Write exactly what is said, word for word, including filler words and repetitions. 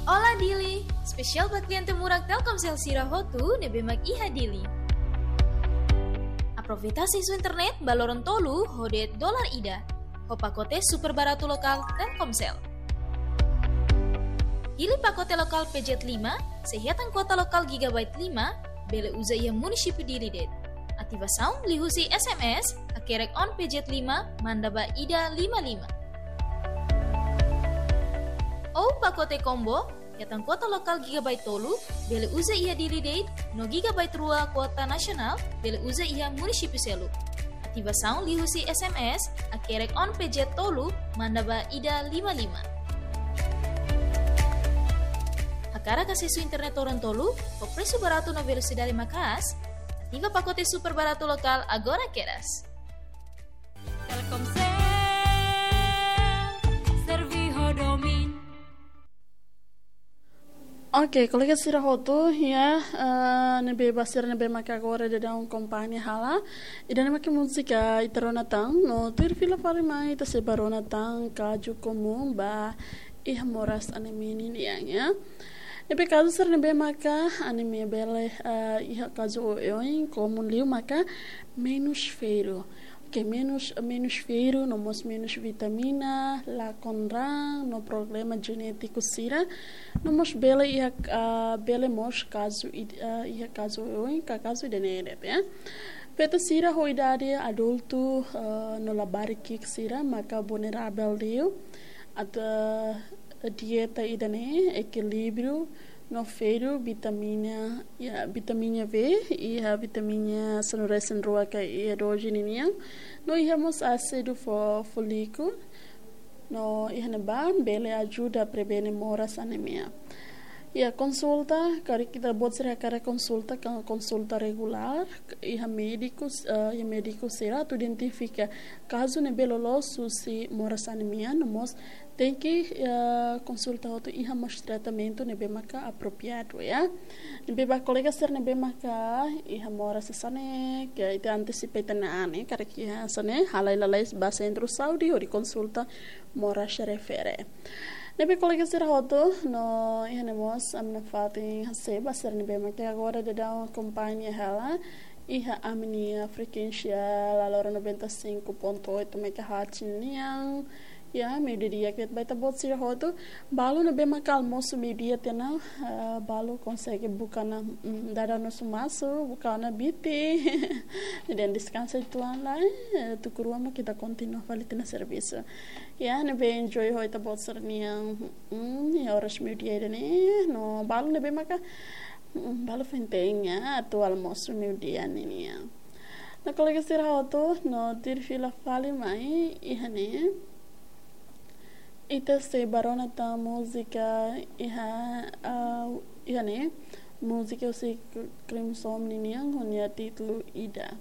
Olá Dili, espesiál ba kliente murak Telkomsel sira hotu ne'ebé mak iha Dili. Aproveita asesu internet ba loron tolu ho de'it dolar ida, ho pakote super baratu lokál Telkomsel. Pilih pakote lokál P Z lima, sei hetan kuota lokál gigabyte lima, bele uza iha munisípiu Dili de'it. Ativasaun liuhusi S M S, hakerek on P Z lima, manda ba ida lima lima. Ou pakote combo, hetan kuota lokál gigabyte tolu, bele uza iha Dili de'it, no gigabyte rua kuota nasionál, bele uza iha munisípiu seluk. Ativasaun liuhusi S M S, hakerek on P Z tolu, manda ba ida lima lima. Hakarak asesu internet loron tolu, ho presu baratu no velosidade maka'as, ativa pakote super baratu lokál agora kedas. Telkomsel, servi ho domin. Oke, kolega sira hotu, ya, eh, ne'ebé ba sira ne'ebé maka agora daudaun akompaña hela. Ida-ne'e maka múzika ita rona tan, no tuir fila fali mai ita sei bá rona tan kazu komún ba iha moras anemia nian, ya. Ne'ebé kazu sira ne'ebé maka anemia bele, eh, iha kazu oioin, komún liu maka menus ferru. Oke, menus, menus ferru, no mós menus vitamina, lakon raan, no problema jenétiku sira, no mós bele iha, ah, bele mós kazu id-, ah, iha kazu oioin, ka kazu ida-ne'e de'it, ya. Feto sira ho idade adultu, ah, no labarik ki'ik sira, maka vulneravel liu, atu, ah, dieta ida-ne'e, ekilíbriu, no ferru, vitamina, ya, vitamina B, iha vitamina sanulu-resin-rua ka iha doze ninian, no iha mós ásidu fo-, fólíku, no iha ne'ebá bele ajuda prevene moras anemia. Ya, konsulta, karik ita-boot sira hakarak konsulta, ka konsulta regulár, iha médiku, eh, iha médiku sira atu identifika kazu ne'ebé loloos husi moras anemia, no mós tenke, eh, konsulta hotu iha mós tratamentu ne'ebé maka apropriadu, ya. Ne'ebé ba kolega sira ne'ebé maka iha moras hanesan ne'e, ke ita antesipa ita-nia an, karik iha hanesan ne'e, halai lalais ba sentru saúde hodi konsulta moras refere. Ne'ebé kolega sira hotu, no iha ne'e mós ami-nia fatin hasai ba sira ne'ebé maka agora daudaun akompaña hela, iha ami-nia frekuénsia laloran noventa e cinco ponto oito megahertz nian. Ya, meiudia di'ak ba ita-boot sira hotu. Balu ne'ebé maka almosu meiudia tiha ona, ah, balu konsege buka ona, mm, dada no sumasu, buka ona biti. Jadi deskansa uitoan lai, eh, tuku rua mak ita kontinua fali tiha ona servisu. Ya, ne'ebé enjoy ho ita-boot sira-nian, mm, iha oras meiudia ida-ne'e, no balu ne'ebé maka, mm, balu foin-teen atu almosu meiudia ninian. No kolega sira hotu, no tuir fila fali mai, iha ne'e. Ita sei bá rona tan múzika iha, ah, iha ne'e. Múzika husi Crimson ninian, ho nia títulu Ida.